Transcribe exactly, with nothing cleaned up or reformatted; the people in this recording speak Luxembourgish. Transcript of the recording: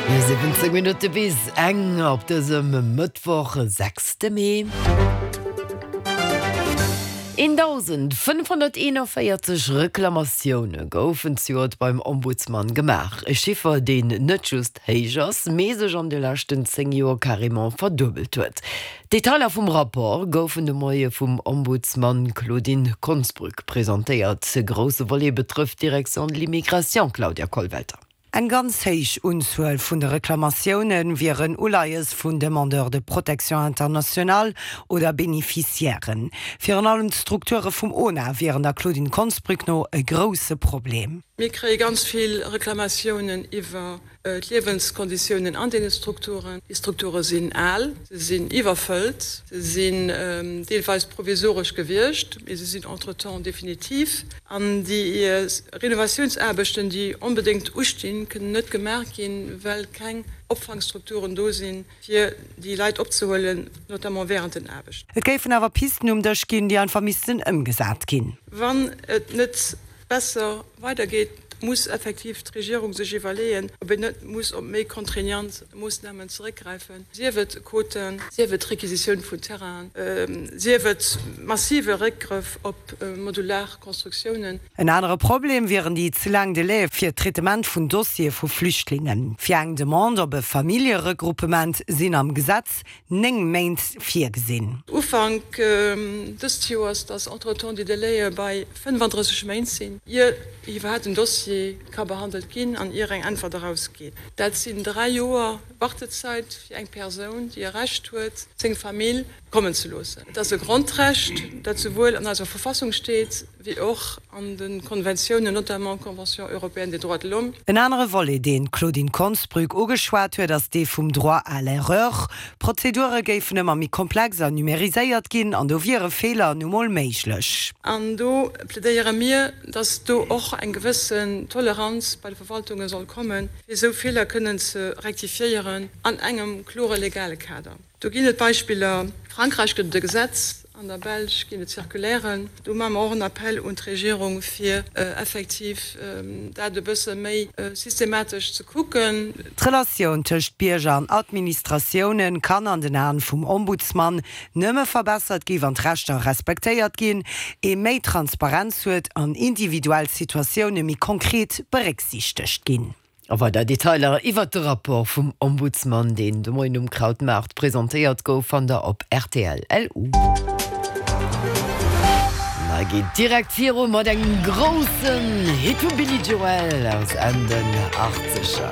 siwwenzéng Minutte bis eng op dësem Mëttwoch, sechste Mee. eendausendfënnfhonnerteenanvéierzeg Reklamatioune goufen zejoert beim Ombudsman gemaach. E Chiffer, deen net just héich ass, mee sech an de leschten zéng Joer carrément verduebelt huet. D'Detailer vum Rapport goufen de Moie vum Ombudsman Claudine Konsbrück presentéiert. E grousse Volet betrëfft d'Direction de l'immigration, Claudia Kollwelter. Eng ganz héich Unzuel vun de Reklamatioune wieren Uleies vun Demandeurs de protection internationale oder Beneficiairen. Virun allem d'Strukture vum ONA wieren der Claudine Konsbrück no e grousse Problem. Mir kréie ganz vill Reklamatiounen iwwer d'Liewenskonditiounen an deene Strukturen. Déi Strukture sinn al, se sinn iwwerfëllt, se sinn deelweis provisoresch gewiescht, mee se sinn entretemps definitiv. An déi Renovatiounsaarbechten, déi onbedéngt ustinn, kënnen net gemaach ginn, well keng Opfangstrukturen do sinn, fir déi Leit opzehuelen, notamment während den Aarbechten. Et géifen awer Pisten um Dësch ginn, déi einfach missten ëmgesat ginn. Wann et net besser weidergeet, muss effektiv d'Regierung sech iwwerleeën, ob een net muss op méi contraignant Moossnamen zeréckgräifen, sief et Quoten, sief et Requisitioun vun Terrainen, sief et massive Réckgrëff op modular Constructiounen. En anere Problem wieren déi ze laang Delaie fir d'Traitement vun Dossiere vu Flüchtlingen. Fir eng Demande op e Familljeregruppement sinn am Gesetz néng Méint virgesinn. Ufank dëst Joers, dass entretemps déi Delaie bei fënnefandrësseg Méint sinn, ier iwwerhaapt en Dossier ka behandelt ginn an ier eng Äntwert erausgeet. Dat sinn dräi Joer Wartezäit fir eng Persoun, déi e Recht huet, seng Famill kommen ze loossen. Et ass e Grondrecht, dat souwuel an eiser Verfassung steet, wéi och an de Konventiounen, notamment d'Convention européenne des droits de l'homme. En anere Volet, deen d'Claudine Konsbrück ugeschwat huet, ass dee vum Droit à l'erreur. D'Prozedure géifen ëmmer méi komplex an numeriséiert ginn an do wiere Feeler nu mol méiglech. An do plädéiere mir, dass do och eng gewëssen Toleranz bei de Verwaltunge soll kommen, fir esou Feeler kënnen ze rektifiéieren an engem klore legale Kader. Do ginn et Beispiller, Frankräich gëtt et e Gesetz, an der Belsch ginn et Circulairen. Do maache mer och en Appell un d'Regierung, fir effektiv dat e bësse méi systematesch ze kucken. D'Relatioun tëscht Bierger an Administratioune kann an den Aen vum Ombudsman nëmme verbessert gi wann d'Rechter respektéiert ginn, ee méi Transparenz huet an individuell Situatioune méi konkret berécksiichtegt ginn. A weider Detailer iwwert de Rapport vum Ombudsman, deen de Moien um Krautmaart presentéiert gouf, fannt der op rtl. Lu. Mä geet direkt viru mat engem groussen Hit vum Billy Joel aus Enn den Achtzeger.